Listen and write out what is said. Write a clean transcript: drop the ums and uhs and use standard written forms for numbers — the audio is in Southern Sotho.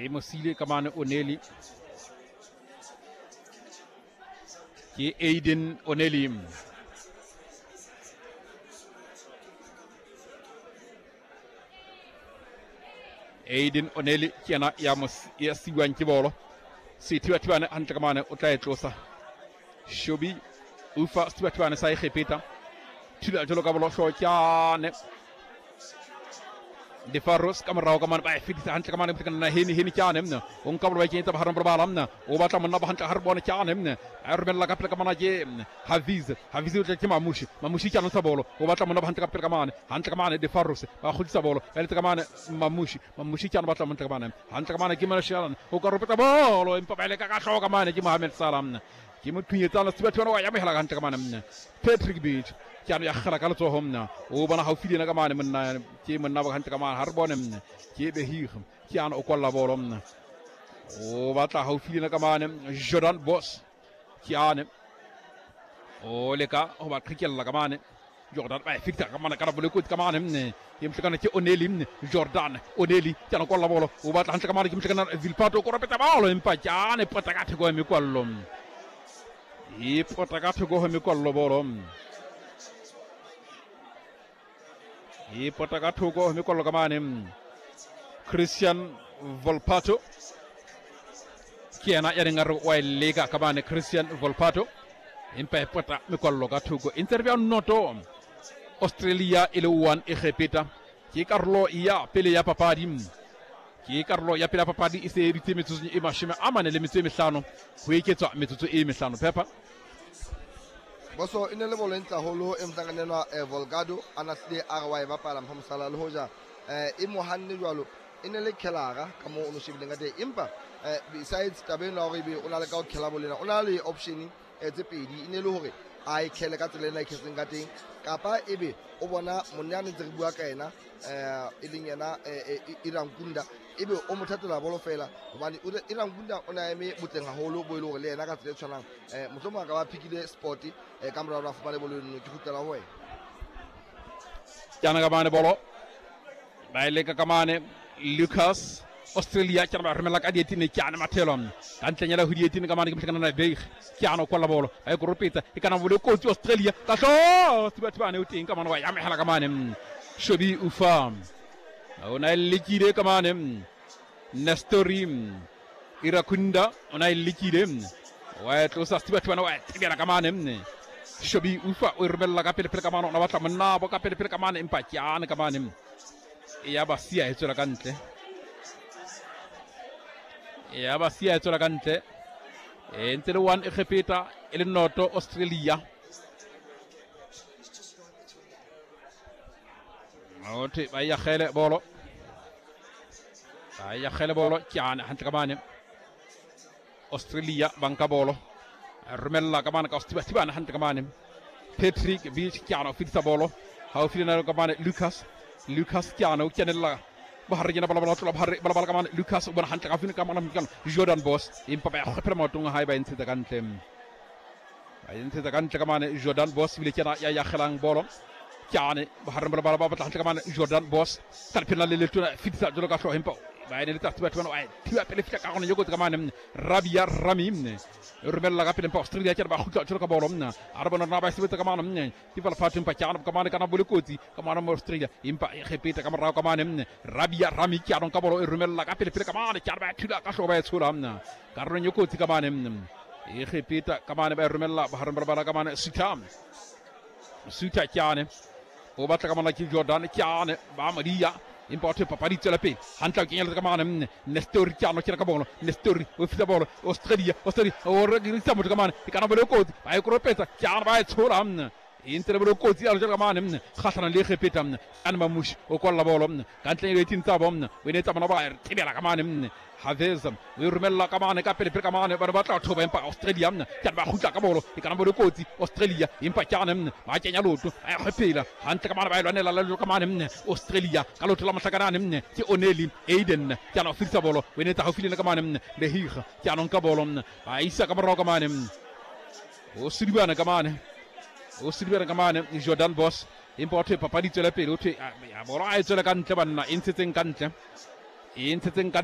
E mo siile ka mane Oneli. Ke Aiden Oneli. Aiden Oneli ke yena ya mo ya siwang ke bolo. Sethibathibane hantle ka mane o tla e tlosa. Shobi ufa sethibathibane sa Egepeta. Thula jalo ka bolo kyane. Defaros ka morao ka mane ba e fetisa hantle ka mane motlekana hene hene kyane mna o nka bolo ba kenyetsa bahareng ba bala mna o batla monna ba hantle ha re bone kyane mna a romella ka pele ka mana ke Haviz Haviz o tla ke Mamushi Mamushi kyane sa bolo o batla monna ba hantle ka pele ka mane hantle ka mane Defaros ba kgutlisa bolo ba letse ka mane Mamushi Mamushi kyane batla montle ka mane hantle ka mane ke Malashialan o ka ropetsa bolo empa ba ile ka ka hloka mane ke Mohamed Salah mna ke mo thunyetsana Sebathiwana wa yamogela gantle ka mane mna Patrick Beach ke ano ya gela ka letsogo mna o bona gaufi le ena ka mane monna ke monna ba gantle ka mane ga re bone mna ke Behig ke ano o kwalla bolo mna o batla gaufi le ena ka mane Jordan Boss ke ane o leka go ba qhekella ka mane Jordan ba e fetisa ka mane ka rabole kotsi ka mane mne ke motlekana ke Oneli mne Jordan Oneli ke ana kwalla bolo o batla hantle ka mane ke motlekana Vilpato o koropetsa bolo empa ke ane pota ka theko ya mekwallo e pota ka theko ho mekwallo bolo e pota ka thoko ho mekwallo ka mane Christian Volpato ke yena ya neng a re wa e leka ka mane Christian Volpato empa e pota mekwallo ka thoko e ntse re bja noto Australia e le 1 Egepeta ke karolo ya pele ya papadi ke karolo ya pele ya papadi e se editse metsotsong e 45 ho eketswa metsotso e 5 phepa Boso e ne le bolo e ntle haholo e motlanganelwa Volgado a na hlile a re wa e bapala mpha mosala le hoja e mo hanne jwalo e ne le khelara ka moo o no shebileng ka teng empa besides taba eno ya hore ebe o na le ka ho khela bolo ena o na le option tse pedi e ne le hore a e khele ka tsela ena e khetseng ka teng kapa ebe o bona monna a ntse re bua ka ena e leng yena Irankunda ebe o mo thatela bolo fela hobane Irankunda o ne a eme botleng haholo bo e le hore le yena ka tsela e tshwanang mohlomong a ka ba phikile sport ka mora hore a fumane bolo eno ke kgutlela ho wena Ke ana ka mane bolo ba e leka ka mane Lucas Australia ke ba romela ka dietine ke ana mathelo ka ntlenyela ho dietine ka mane ke motlhakana na Beig ke ana kwalla bolo ba e koropetsa e kana bole kotsi Australia ka hlo Thibathibane o teng ka mane wa yamehela ka mane Shobi Ufa o na e lekile ka mane Nestori Irakunda o na e lekile wa e tlosa Thibathibane wa e tebela ka mane Shobi Ufa o e romella ka pele pele ka mane o na batla monnabo ka pele pele ka mane empa ke ane ka mane ya ba sia e tswela ka ntle ya ba sia e tswela ka ntle e ntse le 1 Egepeta e le noto Australia othi ba yagele bolo ba yagele bolo ke ane hantle ka mane Australia ba nka bolo romella ka mane ka Thibathibane hantle ka mane Patrick Beach ke ana o fetisa bolo haufi le nalo ka mane Lucas Lucas ke ana o kenella bohare kena bala bala tlola bohare bala bala ka mane Lucas o bona hantle ka haufi ka mane Jordan Boss empa ba ya kgwephela maotong a hae ba e ntshetsa ka ntle ba e ntshetsa ka ntle ka mane Jordan Boss ebile ke yena ya yagelang bolo ke ane bohareng bala bala ba batla hantle ka mane Jordan Boss ka lephelo le letona fetisa jalo ka hlooho empa ba ene le tsa batho bana wa thiba pele fihla ka gona yo kotsi ka mane Rabia Rami e romella ka pele empa Australia ke ba kgutla jalo ka bolo a re bona rona ba e sebetsa ka mane ke fela fatshe empa ke ana ka mane kana bole kotsi ka mane mo Australia empa e Egepeta ka morao ka mane Rabia Rami ke anong ka bolo e romella ka pele pele ka mane ke ana ba thula ka hlooho ba e tshola karolong e kotsi ka mane Egepeta ka mane ba e romella bohareng ba lebala ka mane Suta Suta ke ane o batla ka mona ke Jordan ke ane ba modia empa batho papadi tswela pele hantle o kenyeletsa ka mane Nestori ke ano kena ka bolo Nestori o fisa bolo Australia Australia o rekisa motho ka mane e kana bolo kotsi ba e koropetsa ke ano ba e tshola e ntse le bolo kotsi ya ka mane kgatlhanong le Egepeta ane Mamushi o kwalla bolo ka ntleng e tsa bo o ne tsa bona ba e tebela ka mane Havez o e romella ka mane ka pele pele ka mane ba ne ba tla thoba empa Australia ke ba kgutla ka bolo e kana bolo kotsi Australia empa ke ane ba kenya loto ba e kgwephela hantle ka mane ba e lwanela le ka mane Australia ka loto la mohlakanane ke Oneli Aiden ke ana o fetisa bolo o ne tsa haufi le ka mane Lehiga ke anong ka bolo ba isa ka morao ka mane o sedibana ka mane o sedibana ka mane Jordan Boss empa o thwe papadi tswela pele o thwe ya bolo a e tswela ka ntle banna e ntshetseng ka ntle e ntshetseng ka